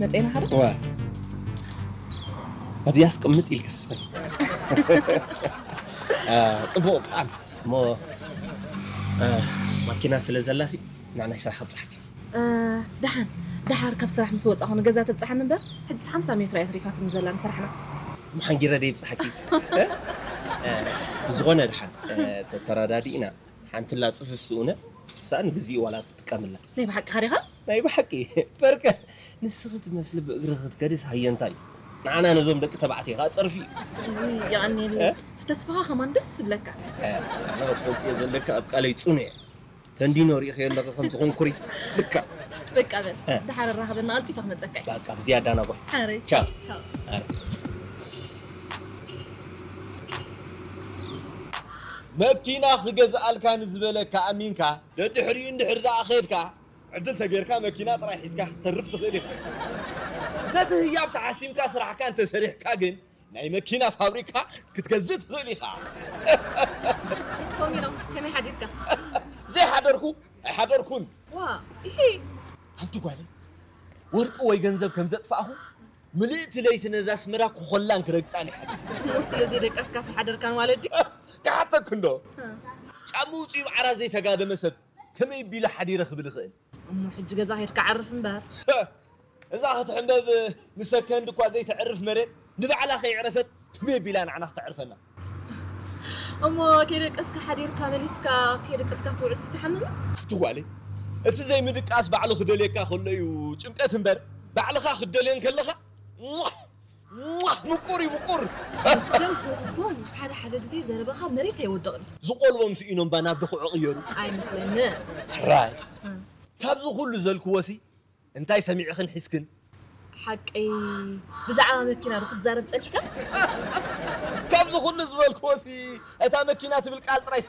መፅና ሓደ ዋ ኣብዚኣ ኣስቀምጥ ኢልክስ አ፣ ፅቡቕ ብጣዕሚ እሞ አ፣ ማኪና ስለ ዘላሲ ንዓናይ ስራሕ ከብፅሓኪ ደሓን ደሓር ካብ ስራሕ ምስ ወፃኹ ንገዛ ተብፅሓኒ እምበር ሕጅስ ሓምሳ ሜትሮ እያ ተሪፋትኒ ዘላ ንስራሕና። መሓንጊረ ደ ይብፅሓኪ እ? እ፣ ብዝኾነ ድሓን እ፣ ተተረዳዲእና ሓንቲ ላ ፅፍፍቲ እውነ እሳ ንግዚኡ ዋላ ትጥቀምላ ናይ ብሓቂ ዲኻ? ናይ ብሓቂ በርከ ንስኺ ትመስሊ ብእግሪ ክትከድስ ሃየንታ እዩ ንዓና ነዞም ደቂ ተባዕትዮ ከዓ ፀርፊ እዩ የቐኒየለይ። እቲ ተስፋኻ ከማን ደስ ዝብለካ። ኣነ ክትፈልጥዮ ዘለካ ኣብ ቃለይ ፅኑዕ እየ ተንዲኖ ሪኢኸዮ ኣለኺ ከምዚ ኮንኩሪ ልካ በቃ በል ደሓር ራኸበና ቀልጢፈ ክመፀካ እዩ። በቃ ብዝያዳ ናጓ ሓረይ ቻው። ቻው። መኪና ክገዝኣልካ ንዝበለካ ኣሚንካ ደድሕሪኡ እንድሕር ደኣ ኸድካ ዕድል ተጌርካ መኪና ጥራይ ሒዝካ ክትተርፍ ትኽእል ኢኻ። ነቲ ህያብ ተሓሲምካ ስራሕካ እንተሰሪሕካ ግን ናይ መኪና ፋብሪካ ክትገዝእ ትኽእል ኢኻ። እስኮሚኖ ከመይ ሓዲርካ? ዘይሓደርኩ ኣይሓደርኩን። ዋ ይሄ ሓንቲ ጓለይ ወርቂ ወይ ገንዘብ ከም ዘጥፋእኹ ምልእቲ ለይቲ ነዛ ኣስመራ ክኾላን ክረግፃን ይሓድር። እሞ ስለዚ ደቀስካ ዝሓደርካን ማለት ድዩ? ክሓተክ እንዶ ጫምኡ ውፅኡ ዓራት ዘይተጋደመ ሰብ ከመይ ቢሉ ሓዲረ ክብል ይኽእል? እሞ ሕጂ ገዛ ከድካ ዓርፍ እምበር። እዛ ክትሕንበብ ንሰከንድ እኳ ዘይተዕርፍ መሬት ንባዕላ ከይዕረፈት ከመይ ቢላ ንዓና ክተዕርፈና? እሞ ከይደቀስካ ሓዲርካ መሊስካ ከይደቀስካ ትውዕል ስትሓምም? ትጓለይ እቲ ዘይምድቃስ ባዕሉ ክደልየካ ከሎ እዩ ጭንቀት እምበር ባዕልኻ ክትደልዮ እንከለኻ ሟሕ! ሟሕ! ምቁር እዩ ምቁር። ጀም ተስፎም ሓደ ሓደ ግዜ ዘረባኻ መሬት ኣይወድቕን። ዝቆልቦም ስኢኖም ባ ናብ ድኹዑ ቅየሩ። ኣይመስለኒ። ራይ ካብዚ ኩሉ ዘልክዎሲ እንታይ ሰሚዕኽን ሒዝክን? ሓቀይ ብዛዕባ መኪና ዶ ክትዛረብ ጸኒሕካ? ካብዚ ኩሉ ዝበልክዎሲ እታ መኪና ትብል ቃል ጥራይ